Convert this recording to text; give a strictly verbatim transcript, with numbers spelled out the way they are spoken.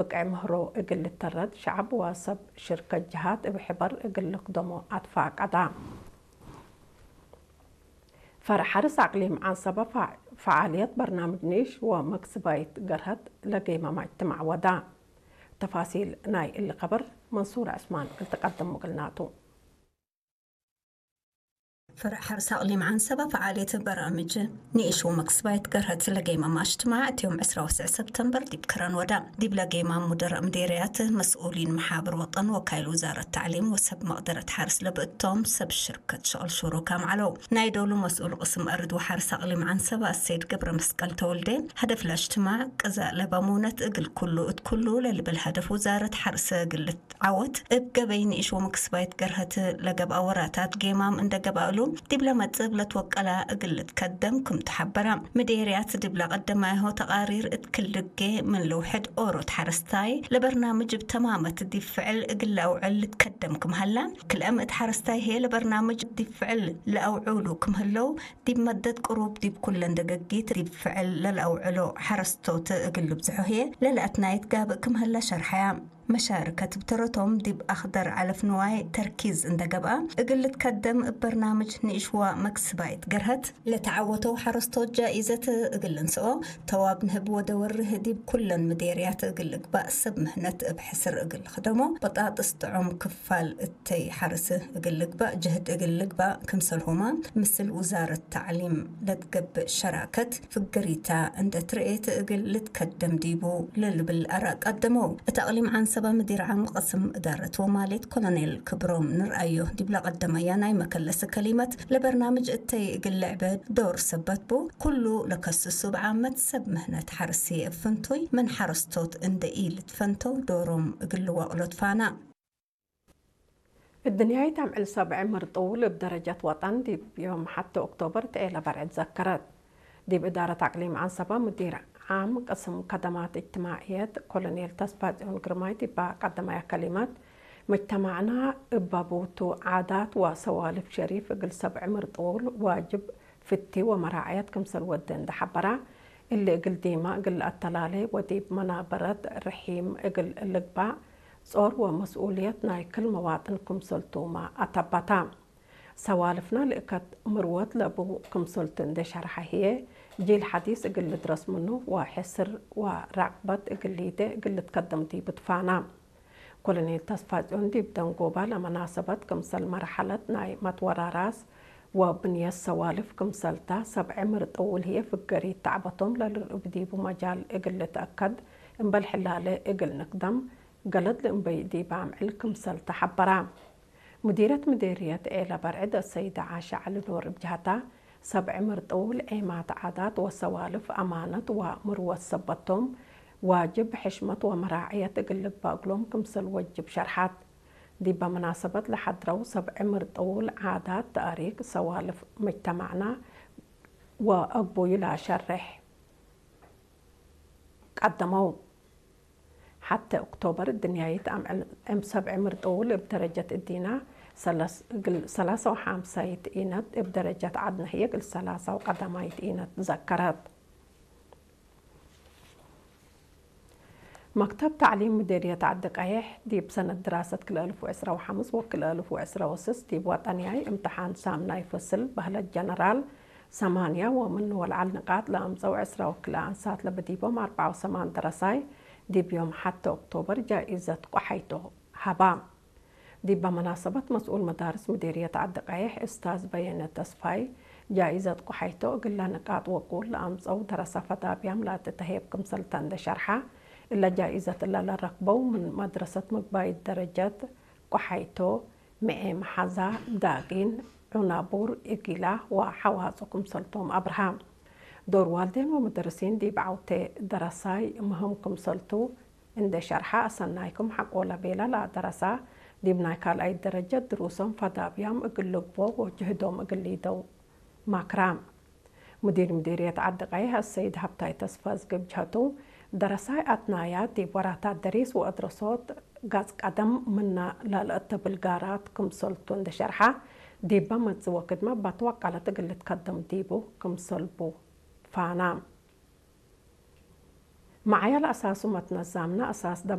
ብቅዕ ምህሮ እግል ልተረድ ሸዐብ ወሰብ ሽርከት ጀሃት እብ ሕበር እግል ልክደሞ አትፋቀዳ። ፈርዕ ሐርስ አቅሊም ዐንሰበ ፈ-፣ ፈዓልየት በርናምጅ ኒሽ ወመክስባይት ገርሀት ለጌመ መጅትማዕ ወዳ። ተፋሲል ናይ እሊ ከበር መንሱር ዕስማን እግል ትቀድም እግልናቱ። ፈርዕ ሐርስ አቅሊም ዐንሰበ ፈዓልየት በርናምጅ ንኢሽ ወመክስባይት ገርሀት ለጌመ መጅትማዕ እት ዮም ዕስራ ወትስዕ ሰብተምበር ዲብ ከረን ወዳ። ዲብለ ጌማም ሙደረእ ምዴርያት፣ መስኡሊን መሓብር ወጠን፣ ወካይል ውዛረት ተዕሊም ወሰብ መቅደረት ሐርስ ለብእቶም ሰብ ሽርከት ሸቅል ሹሩካም ዐለው። ናይ ዶሉ መስኡል ቅስም አርድ ወሐርስ አቅሊም ዐንሰበ አሰይድ ገብረ መስቀል ተወልዴ፣ ሀደፍ ለእጅትማዕ ቅዘእ ለበ ሙነት እግል ኩሉ እት ኩሉ ለልብል ሀደፍ ውዛረት ሐርስ እግል ልትዓወት እብ ገበይ ንኢሽ ወመክስባይት ገርሀት ለገብአ ወራታት ጌማም እንደ ገብአ እሉ፣ ዲብለ መጽእ እብ ለትወቀላ እግል ልትከደም ክም ተሐበረ። ምዴርያት ዲብለ ቀደማይሆ ተቃሪር እት ክል ድጌ ምን ልውሕድ ኦሮት ሐረስታይ ለበርናምጅ እብ ተማመት ዲብ ፍዕል እግል ለአውዕል ልትከደም ክም ሀላ፣ ክልአም እት ሐረስታይ ህዬ ለበርናምጅ ዲብ ፍዕል ለአውዑሉ ክም ህለው፣ ዲብ መደት ቅሩብ ዲብ ኩለን ደገጊት ዲብ ፍዕል ለለአውዕሎ ሐረስቶት እግል ልብዝሖ ህዬ ለለአትናይት ጋብእ ክም ሀላ ሸርሐያ። መሻርከት እብ ተረቶም ዲብ አክደር ዐለፍ ንዋይ ተርኪዝ እንደ ገብአ፣ እግል ልትከደም እብ በርናምጅ ንኢሽ ወመክስባይት ገርሀት ለተዓወተው ሐረስቶት ጃኢዘት እግል ልንስኦ፣ ተዋብ ንህብ ወደወርህ ዲብ ኩለን ምዴርያት እግል ልግባእ ሰብ ምህነት እብ ሕስር እግል ልክደሞ፣ በጣጥስ ጥዑም ክፋል እተይ ሐርስ እግል ልግባእ ጅህድ እግል ልግባእ ክምሰልሁመ፣ ምስል ውዛረት ተዕሊም ለትገብእ ሸራከት ፍገሪታ እንደ ትርኤት እግል ልትከደም ዲቡ ለልብል አራእ ቀደመው። እት አቅሊም ዐንሰበ ምዲር ዓም ቅስም እዳረት ወማሌት ኮሎኔል ክብሮም ንርአዮ ዲብ ለቀደመያ ናይ መከለስ ከሊመት፣ ለበርናምጅ እተይ እግል ልዕበ ዶር ሰበት ቡ፣ ኩሉ ለከስሱ እብ ዓመት ሰብ ምህነት ሐርስ ህዬ እብ ፍንቱይ ምን ሐረስቶት እንደ ኢልትፈንተው ዶሮም እግል ልዋቅሎ ትፋና። እድንያይት አምዕል ሰብዕ ምርጡል እብ ደረጀት ወጠን ዲብ ዮም ሐቴ ኦክቶበር ተኤለ በርዕድ ዘከረት። ዲብ እዳረት አቅሊም ዐንሰበ ሙዲር ዓም ቅስም ከደማት እጅትማዕየት ኮሎኔል ተስፋጽዮን ግርማይ ዲባ ቀደመያ ከሊመት፣ መጅተማዕና እብ አቡቱ ዓዳት ወሰዋልፍ ሸሪፍ እግል ሰብዕ ምርጡል ዋጅብ ፍቲ ወመራዕየት ክምሰል ወዴ እንዴ ሐበራ፣ እሊ እግል ዲመ እግል ለአተላሌ ወዲብ መናበረት ርሒም እግል ልግባእ ጾር ወመስኡልየት ናይ ክል መዋጥን ክምሰልቱመ አተበታ። ሰዋልፍና ልእከት ምርወት ለቡ ክምሰልቱ እንዴ ሸርሐ ህዬ፣ ጂል ሐዲስ እግል ልድረስ ምኑ ወሕስር ወራቅበት እግል ሊዴ እግል ልትከደም ዲቡ ትፋና። ኮሎኔል ተስፋጽዮን ዲብ ደንጎባ ለመናሰበት ክምሰል መርሐለት ናይ መትወራራስ ወብንየት ሰዋልፍ ክምሰልታ፣ ሰብዐ ምርጥ ውል ህዬ ፍገሪት ተዕበቶም ለልርኡብ ዲቡ መጃል እግል ልትአከድ እምበል ሕላለ እግል ንክደም ገለድ ለእምበይ ዲብ አምዕል ክምሰልተ ሐበራ። ሙዲረት ምዴርየት ዔለ በርዕድ አሰይደ ዓሸ ዐሊ ኖር እብ ጀሀታ፣ ሰብዐ ምርጥ ውል ዔማት ዓዳት ወሰዋልፍ አማነት ወምርወት ሰበቶም፣ ዋጅብ ሕሽመት ወመራዕየት እግል ልግበእ እግሎም ክምሰል ወጅብ ሸርሐት። ዲበ መናሰበት ለሐድረው ሰብዐ ምርጥ ውል ዓዳት፣ ተእሪክ፣ ሰዋልፍ መጅተማዕና ወአግቡይ ለአሸርሕ ቀደመው። ሐቴ ኦክቶበር እድንያይት አምዕል እም ሰብዐ ምርጥ ውል እብ ደረጀት እዲና ሰለስ፣ እግል ሰላሳ ወሐምሳይት ኢነት፣ እብ ደረጀት ዐድነ ህዬ እግል ሰላሳ ወቀደማይት ኢነት ዘከረት። መክተብ ተዕሊም ምዴርየት ዐዲ ቀይሕ፣ ዲብ ሰነት ድራሰት ክልኤ አልፍ ወዕስራ ወሐምስ ወክልኤ አልፍ ወዕስራ ወስስ ዲብ ወጠንያይ እምትሓን ሳምናይ ፍስል በህለት ጀነራል ሰማንያ ወምኑ ወለዐል ንቃጥ ለአምጸው ዕስራ ወክልኤ አንሳት ለብዲቦም አርበዓ ወሰማን ደረሳይ፣ ዲብ ዮም ሐቴ ኦክቶበር ጃኢዘት ቆሓይቶ ሀባ። ዲበ መናሰበት መስኡል መዳርስ ምዴርየት ዐዲ ቀይሕ እስታዝ በየነ ተስፋይ፣ ጃኢዘት ቆሓይቶ እግለ ንቃጥ ወቁል ለአምጸው ደረሰ ፈዳብያም ለአትተሄብ ክምሰልተ እንዴ ሸርሐ፣ እለ ጃኢዘት እለ ለረክበው ምን መድረሰት ምግባይት ደረጀት ቆሓይቶ፣ ምዔ መሐዛ፣ ዳጊን፣ ዑናቡር፣ እጊላ ወሐዋጹ ክምሰልቶም አብርሃ። ዶር ዋልዴን ወመደርሲን ዲብ ዐውቴ ደረሳይ ምህም ክምሰልቱ እንዴ ሸርሐ፣ አሰናይኩም ሐቆለ ቤለ ለአደረሳ፣ ዲብ ናይ ካልኣይት ደረጀት ድሩሶም ፈዳብያም እግል ልግቦ ወጅህዶም እግል ሊደው ማክራ። ሙዲር ምዴርየት ዐዲ ቀይሕ አሰይድ ሀብታይ ተስፋዝጊ እብ ጀሀቱ፣ ደረሳይ አትናያት ዲብ ወራታት ደሪስ ወአድረሶት ጋጽ ቀደም ምነ ለልአተብል ጋራት ክምሰልቱ እንዴ ሸርሐ፣ ዲበ መጽእ ወክድመ በትወቀለት እግል ልትከደም ዲቡ ክምሰልቡ ፋና። መዓያ ለአሳሱ መትነዛምነ አሳስ